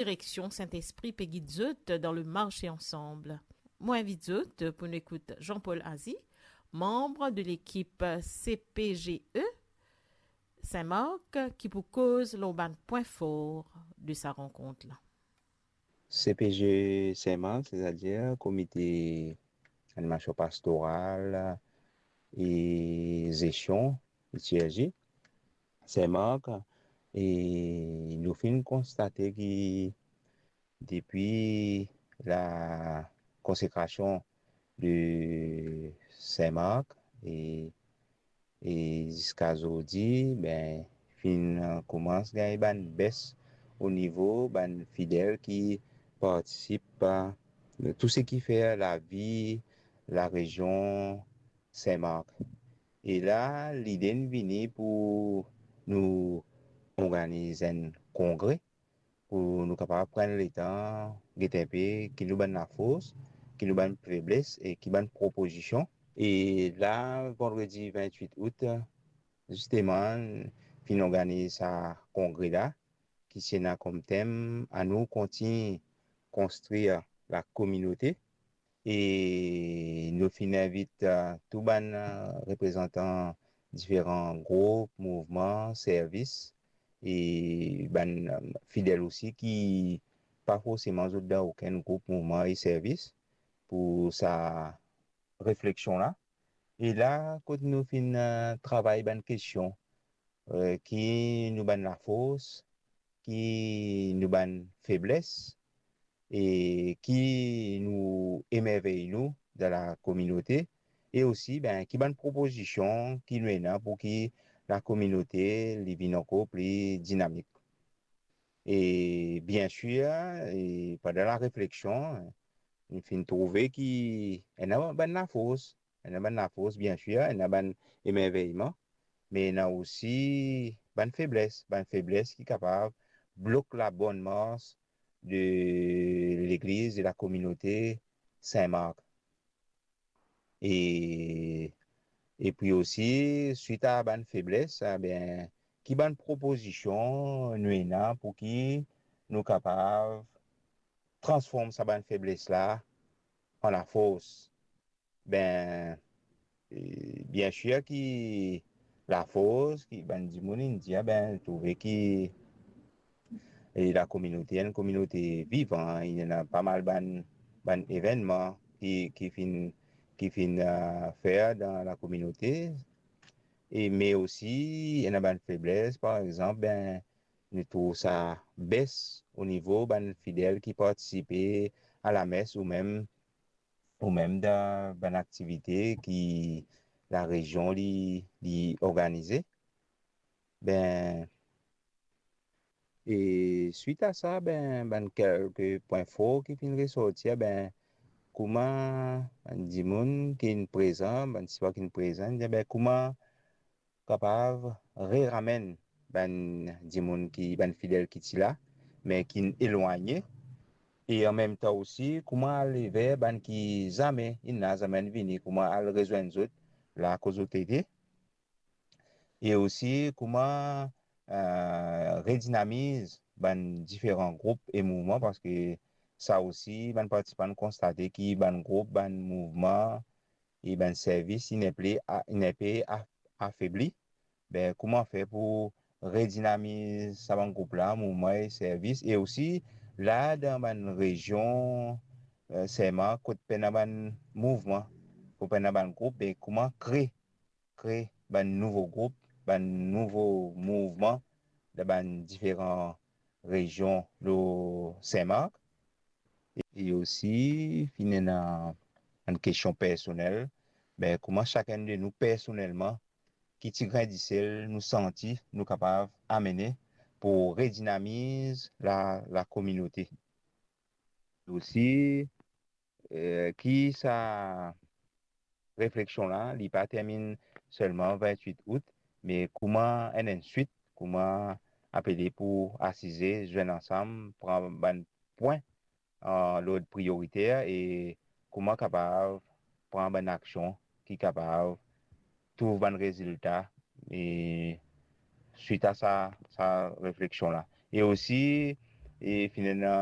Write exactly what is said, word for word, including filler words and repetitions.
direksion Sintespri pe gid zot dan le marche ansanm. Mo invit zot pou nou ekout Jean-Paul Azy, manb de lekip C P G E Saint-Marc, ki pou koz lor bann pwin for de sa rankont la. C P G Saint-Marc, setadir Komite Animasion Pastoral e Zestion, I T R G, Saint-Marc, e nou finn konstate ki depi la konsekrasion de Saint-Marc e, e ziska zordi, ben, finn koumans gagn bann bes o nivo bann fidel ki partisip a tou seki fer lavi larezion Saint-Marc. E la, lide inn vini pou nou organiz enn kongre, pou nou kapav pran letan, gete inpe ki nou bann lafors, ki nou bann febles e ki bann propozision. E la, vandredi vintwit out, zisteman, finn organiz sa kongre la, ki ti ena kom tem, anou kontign konstrir lakominote. E nou finn invit, eh, tou bann, eh, reprezantan diferan group, mouvman, servis, e bann, eh, fidel osi ki pa forseman zot dan okenn group, mouvman e servis pou sa refleksion la. E la, kot nou finn, eh, travay bann kestion, eh, ki nou bann lafors, ki nou bann febles, e ki nou emervey nou dan lakominote, e osi, ben, ki bann propozision ki nou ena pou ki lakominote li vinn ankor pli dinamik. E biensir, e pandan larefleksion, nou finn trouve ki ena bann lafors, ena bann lafors, biensir, ena bann emerveyman, me ena osi bann febles, bann febles ki kapav blok labonn mars de legliz, de lakominote Saint-Marc. E, epi osi, swit a bann febles, a, ben, ki bann propozision nou ena pou ki nou kapav transform sa bann febles la an lafors? Ben, e, biensir ki lafors, ki bann dimoun inn dir, ben, trouve ki, e, lakominote, enn kominote vivan, ena pa mal bann, bann evennman ki, ki finn, ki finn, a, fer dan lakominote. E, me osi, ena bann febles, par exanp, ben, nou trouv sa bes o nivo bann fidel ki partisipe a lames ou mem, ou mem dan bann aktivite ki larezion li, li organize. Ben, e swit a sa, ben, bann kelke pwin for ki finn resorti, ben, kouma bann dimoun ki'nn prezan, bann sipor ki'nn prezan, ben, kouma kapav reramenn bann dimoun ki, bann fidel ki ti la, me ki'nn elwagne, e anmemtan osi, kouma al ver bann ki zame, inn la zame inn vini, kouma al rezwenn zot la kot zot ete, e osi kouma, eh, redinamiz bann diferan group e mouvman, parski sa osi, bann partisipan konstate ki bann group, bann mouvman, e bann servis, inn inpe a-, inn inpe a-, afebli. Be, kouma fer pou redinamiz sa bann group la, mouvman e servis, e osi la dan bann rezion, eh, Saint-Marc, kot pena bann mouvman, kot pena bann group, be, kouma kre, kre bann nouvo group, bann nouvo mouvman dan bann diferan rezion lor Saint-Marc. E osi, finn ena enn kestion personel, be, kouma sakenn de nou personelman, ki ti grin disel nou santi nou kapav amene pou redinamiz la, lakominote. Osi, eh, ki sa refleksion la, li pa terminn selman vintwit out, me kouma enn, enn swit, kouma apele pou asize, zwenn ansam, pran bann pwin an lord priyoriter e kouma kapav pran bann aksion ki kapav trouv bann rezilta, e swit a sa, sa refleksion la. E osi, e finn ena